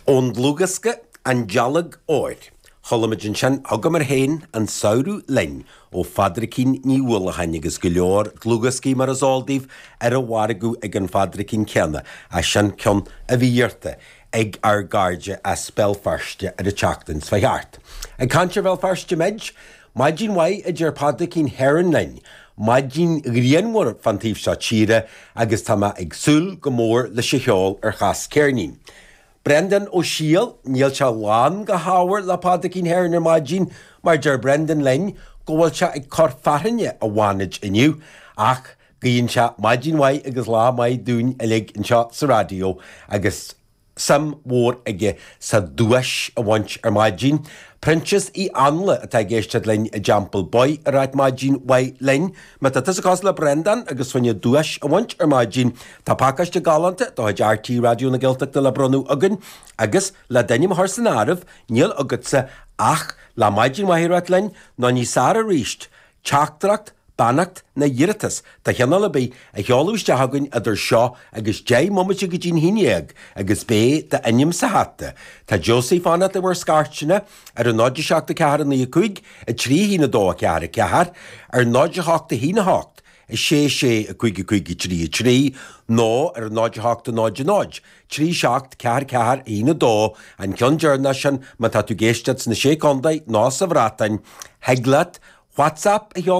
Ón dlúthdhiosca An Dealg Óir, chuala muid ansin Thugamar Féin an Samhradh Linn ó Phádraicín Ní Uallacháin agus go leor dlúthdhioscaí mar is eol daoibh ar an mhargadh ag an Phádraicín céanna, ach sin ceann a bhí iarrta ag ár gcairde as Béal Feirste ar an tseachtain seo thart. Ag caint ar Bhéal Feirste muid, Maidin mhaith a deir Pádraicín Heron linn, maidin ghrianmhar fán taobh seo tíre agus tá mé ag súil go mór leis an cheol ar Chas Ceirnín. Breandán Ó Siadhail, níl sé lán go hábhar le Pádraicín Heron ar maidin mar deir Brendan linn go bhfuil sé ag cur fearthainne i bhFánaid inniu ach guíonn sé maidin mhaith agus lá maith dúinn uilig anseo sa raidió agus suim mhór aige sa duais a bhaint ar maidin. Proinsias Uí Anla atá ag éisteacht linn i dTeampall Bhoy ag ráit maidin mhaith linn. Má tá tusa cosúil le Breandán agus fá choinne duais a bhaint ar maidin, tá pacáiste galánta de chuid RTÉ Raidió na Gaeltachta le bronnadh againn agus le d'ainm a chur san áireamh, níl agatsa ach le maidin mhaith a ráit linn nó níos fearr arís, Teachtaireacht, beannacht nó iarratas de chineál ar bith a sheoladh isteach chugainn idir seo agus 10 mbomaite go dtí'n haon dhéag agus beidh d'ainm sa hata. Tá Josie ag fanacht le bhur scairteanna ar 0 7 4 9 5 3 1 2 4 4, ar 0 8 1 8 6 6 5 5 3 3 nó ar 0 8 0 0 3 7 4 4 1 2, an ceann deireanach sin má tá tú ag éisteacht sna Sé Contae nó sa Bhreatain, thig leat WhatsApp a sheoladh.